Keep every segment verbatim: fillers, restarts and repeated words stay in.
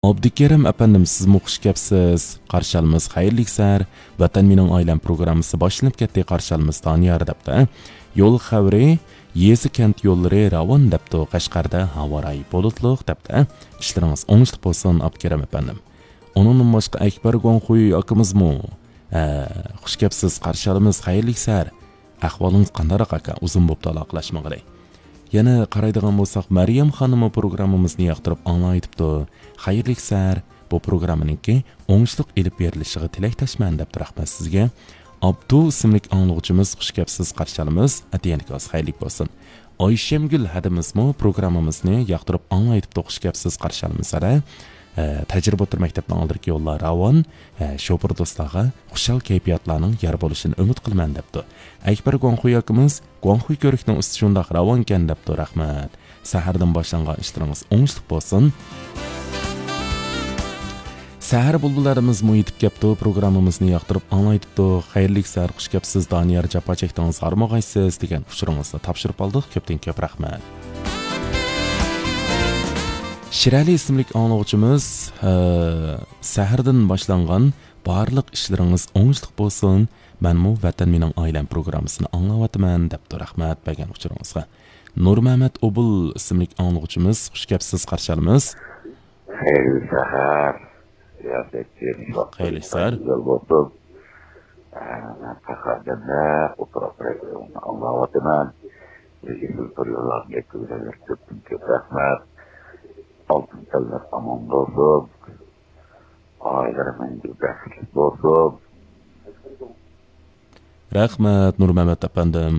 ئابدۇكېرىم ئەپەندىم، سىزمۇ خۇش كەپسىز. قارشى ئالىمىز، خەيرلىك سەھەر. ۋەتەن مېنىڭ ئائىلەم پروگراممىسى باشلىنىپ كەتتى، قارشى ئالىمىز دانىيار، دەپتۇ. يول خەۋىرى، يېزا كەنت يوللىرى راۋان، دەپتۇ. قەشقەردە ھاۋا رايى بۇلۇتلۇق، دەپتۇ. ئىشلىرىڭىز ئوڭۇشلۇق بولسۇن، ئابدۇكېرىم ئەپەندىم. ئۇنىڭدىن باشقا ئەكبەر گۇاڭخۇي ئاكىمىزمۇ، ھە، خۇش كەپسىز، قارشى ئالىمىز، خەيرلىك سەھەر. ئەھۋالىڭىز قانداقراق ئاكا؟ ئۇزۇن بوپتۇ ئالاقىلەشمىگىلى. يەنە قارايدىغان بولساق، مەريەم خانىممۇ پروگراممىمىزنى ياقتۇرۇپ ئاڭلاۋېتىپتۇ. خەيرلىك سەھەر، بۇ پروگراممىنىڭكى ئوڭۇشلۇق ئېلىپ بېرىلىشىغا تىلەكداشمەن، دەپتۇ. رەھمەت سىزگە. ئابدۇ ئىسىملىك ئاڭلىغۇچىمىز، خۇش كەپسىز، قارشى ئالىمىز. ئەتىگەنلىكىڭىز خەيرلىك بولسۇن. ئايشەمگۈل ھەدىمىزمۇ پروگراممىمىزنى ياقتۇرۇپ ئاڭلاۋېتىپتۇ، خۇش كەپسىز، قارشى ئالىمىز ھەدە. ئە، تەجرىبە ئوتتۇرا مەكتەپنىڭ ئالدىدىكى يوللار راۋان، ئە، شوپۇر دوستلارغا خۇشال كەيپىياتلارنىڭ يار بولۇشىنى ئۈمىد قىلىمەن، دەپتۇ. ئەكبەر گۇاڭخۇي ئاكىمىز، گۇاڭخۇي كۆۋرۈكىنىڭ ئۈستى شۇنداق راۋانكەن، دەپتۇ. رەھمەت. سەھەردىن باشلانغان ئىشلىرىڭىز ئوڭۇشلۇق بولسۇن. سەھەر بۇلبۇللىرىمىزمۇ يېتىپ كەپتۇ، پروگراممىمىزنى ياقتۇرۇپ ئاڭلاۋېتىپتۇ. خەيرلىك سەھەر، خۇش كەپسىز دانىيار، جاپا چەكتىڭىز، ھارمىغايسىز، دېگەن ئۇچۇرىڭىزنى تاپشۇرۇپ ئالدۇق. كۆپتىن كۆپ رەھمەت. شىرئەلى ئىسىملىك ئاڭلىغۇچىمىز، ئە، سەھەردىن باشلانغان بارلىق ئىشلىرىڭىز ئوڭۇشلۇق بولسۇن، مەنمۇ ۋەتەن مېنىڭ ئائىلەم پروگراممىسىنى ئاڭلاۋاتىمەن، دەپتۇ. رەھمەت بەرگەن ئۇچۇرىڭىزغا. نۇرمەمەت ئوبۇل ئىسىملىك ئاڭلىغۇچىمىز، خۇش كەپسىز، قارشى ئالىمىز. خەيرلىك سەھەر. سىياسەتچى، خەيرلىك سەھەر. گۈزەل بولسۇن. ئە، مەن قەھۋەدەمدە ئولتۇرۇپ ئاڭلاۋاتىمەن. لېكىن سىز بىر يوللارنى يەتكۈزگەنلەر كۆپتىن كۆپ رەھمەت. ئالتۇن تەنلەر ئامان بولسۇن. ئائىلىلەر مەڭگۈ بەختلىك بولسۇن. رەھمەت، نۇرمەمەت ئەپەندىم.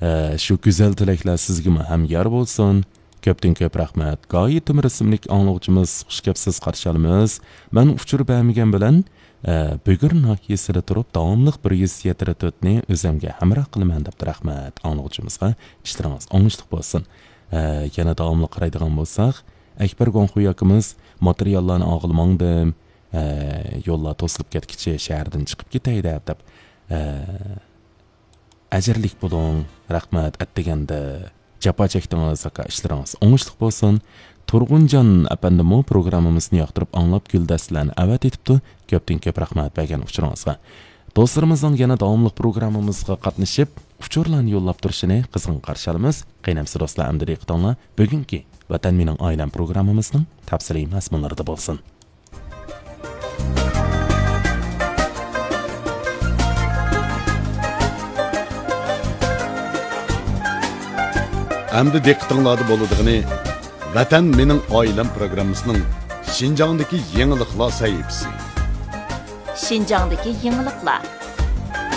ئە، شۇ گۈزەل تىلەكلەر سىزگىمۇ ھەم يار بولسۇن. كۆپتىن كۆپ رەھمەت. گايى تۆمۈر ئىسىملىك ئاڭلىغۇچىمىز، خۇش كەپسىز، قارشى ئالىمىز. مەن ئۇچۇر بەرمىگەن بىلەن، ئە، بۈگۈر ناھىيەسىدە تۇرۇپ، داۋاملىق بىر يۈز يەتتە تۆتنى ئۆزۈمگە ھەمراھ قىلىمەن، دەپتۇ. رەھمەت ئاڭلىغۇچىمىزغا. ئىشلىرىڭىز ئوڭۇشلۇق بولسۇن. ئە، يەنە داۋاملىق قارايدىغان بولساق، ئەكبەر گۇاڭخۇي ئاكىمىز، ماتېرىياللارنى ئالغىلى ماڭدىم. ئە، يوللار توسۇلۇپ كەتكىچە شەھەردىن چىقىپ كېتەي دەپ، دەپ، ئە، ئەجىرلىك بولۇڭ، رەھمەت، ئەتىگەندە جاپا چەكتىڭىز، ئاكا، ئىشلىرىڭىز ئوڭۇشلۇق بولسۇن. تۇرغۇنجان ئەپەندىمۇ پروگراممىمىزنى ياقتۇرۇپ ئاڭلاپ، گۈلدەستىلەرنى ئەۋەتىۋېتىپتۇ. كۆپتىن كۆپ رەھمەت بەرگەن ئۇچۇرىڭىزغا. دوستلىرىمىزنىڭ يەنە داۋاملىق پروگراممىمىزغا قاتنىشىپ، ئۇچۇرلارنى يوللاپ تۇرۇشىنى قىزغىن قارشى ئالىمىز. قېنى ئەمىسە دوستلار، ئەمدى دىققىتىڭلار بۈگۈنكى ۋەتەن مېنىڭ ئائىلەم پروگراممىمىزنىڭ تەپسىلىي مەزمۇنلىرىدا بولسۇن. ئەمدى دىققىتىڭلاردا بولىدىغىنى ۋەتەن مېنىڭ ئائىلەم پروگراممىسىنىڭ شىنجاڭدىكى يېڭىلىقلار سەھىپىسى. شىنجاڭدىكى يېڭىلىقلار.